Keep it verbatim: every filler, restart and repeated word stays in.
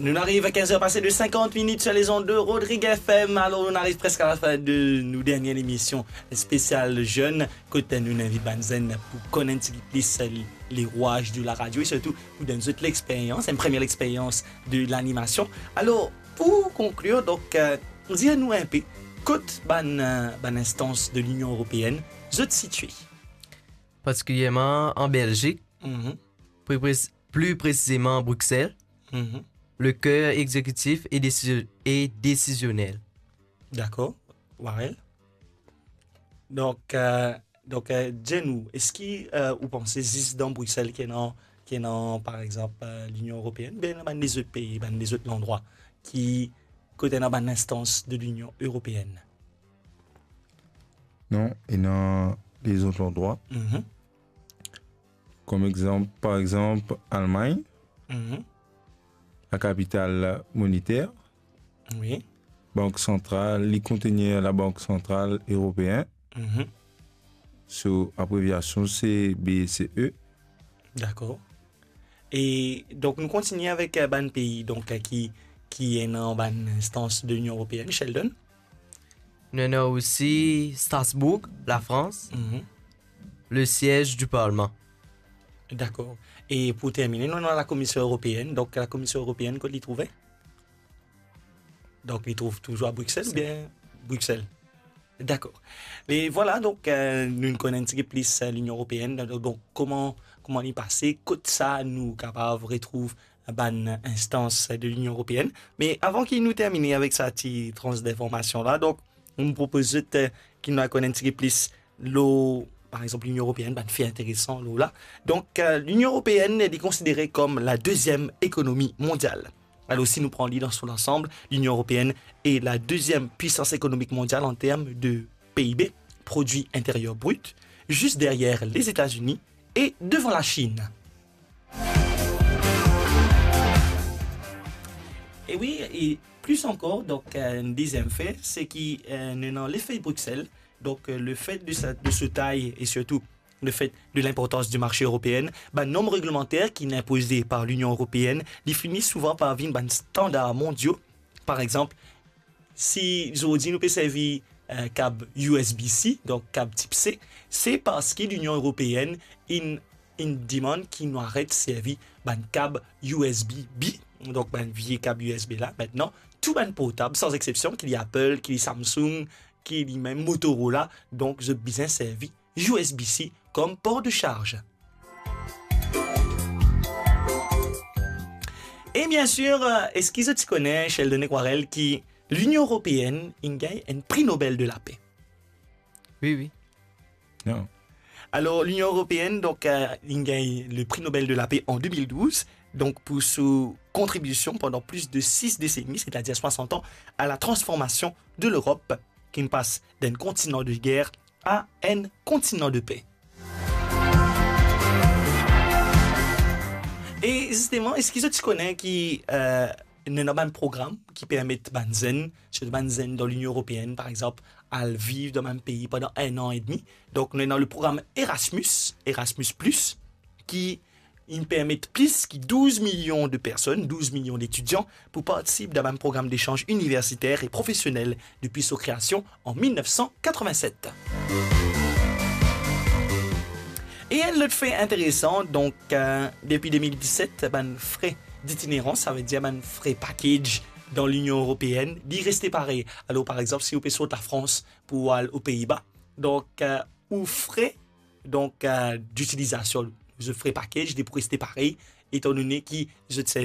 Nou ariv a kinz er pase de sinkant minit sur les ondes de Rodrigue F M. Alor, nou ariv preske a la fin de nou dernie lemision spesial zenn, kot nou invit bann zenn pou konn enn tigit plis le rwaz de la radio e sirtou pou donn zot lexperyans, enn premie lexperyans de lanimasion. Alor, pou konklir, donk, euh, dir nou enpe, kot bann, euh, bann instans de Linion Eropeenn zot sitie? Partikilyerman an Belzik, Mhm. pli presi-, pli presizeman Bruxelles, Mhm. le ker exekitif e desi-, e desizionel. Dakor. Warel? Donk, euh, donk, euh, dir nou, eski, euh, ou panse zis dan Bruxelles ki ena, ki ena, par exanp, euh, Linion Eropeenn, oubien ena bann lezot pei, bann lezot landrwa ki, kot ena bann instans de Linion Eropeenn? Non, ena lezot landrwa. Mhm. Kom exanp, par exanp, Almagn, Mhm. la kapital monetaire, Wi. Bank Santral, li kontenir Labank Santral Eropeen. Mhm. So, abreviasion se B C E. Dakor. E donk, nou kontigne avek, euh, bann pei, donk, euh, ki, ki ena bann instans de Linion Eropeenn, Sheldon. Nou ena osi Strasbourg, Lafrans, Mhm. le siez di parlman. Dakor. E pou termine, nou ena Lakomision Eropeenn. Donk, Lakomision Eropeenn, kot li trouve? Donk, li trouv touzour a Bruxelles oubien Bruxelles? Dakor. E vwala, donk, euh, nou konn enn tigit plis, euh, Linion Eropeenn. Donk, donk, kouma, kouma li pase, kot sa nou kapav retrouv bann instans de Linion Eropeenn. Me avan ki nou termine avek sa ti trans dinformasion la, donk, nou propoz zot, euh, ki nou al konn enn tigit plis lor, par exanp, Linion Eropeenn, bann fe interesan lor la. Donk, euh, Linion Eropeenn, li konsidere kom la deziem ekonomi mondial. Alor, si nou pran li dan so lansanm, Linion Eropeenn est la deuxième puissance économique mondiale en termes de P I B, produit intérieur brut, juste derrière les États-Unis et devant la Chine. E wi, e plis ankor, donk, euh, enn deziem fe, se ki, euh, nou ena lefet Bruxelles, donk, euh, lefet de sa, de so tay e sirtou lefet de linportans di marse eropeen, bann norm reglemanter ki inn inpoze par Linion Eropeenn, li fini souvan par vinn bann standar mondio. Par exanp, si zordi nou pe servi, euh, kab U S B C, donk kab tip C, se parski Linion Eropeenn inn, inn demann ki nou aret servi bann kab U S B B, donk bann vie kab U S B la. Mintnan, tou bann portab, san exsepsion, ki li Apple, ki li Samsung, ki li mem Motorola, donk zot bizin servi U S B C kom por de sarz. E biensir, euh, eski zot ti kone, Sheldon ek Warel, ki Linion Eropeenn inn gagn enn Pri Nobel de Lape? Wi, wi. Non. Alor, Linion Eropeenn, donk, euh, inn gagn le Prix Nobel de la Paix en deux mille douze, donk, pou so kontribision pandan plis de sis deseni, setadir swasant an, a la transformasion de Lerop, ki pas d'enn kontinan de ger a enn kontinan de pe. E zisteman, eski zot ti kone ki, euh, nou ena bann program ki permet bann zenn, sirtou bann zenn dan Linion Eropeenn, par exanp, al viv dan bann pei pandan enn an edmi? Donk, nou ena le program Erasmus, Erasmus Plus, ki inn permet plis ki douz milion de personn, douz milion detidian, pou partisip dan bann program desanz iniversiter e profesionel depi so kreasion an mil nef san katrevinset. E enn lot fe interesan, donk, euh, depi de mil diset, bann fre ditinerans, savedir bann fre package dan Linion Eropeenn, li reste parey. Alor, par exanp, si ou pe sort Lafrans pou al o Pei-Ba, donk, euh, ou fre, donk, euh, d'utilizasion, zot fre package, li pou reste parey, etandone ki zot servi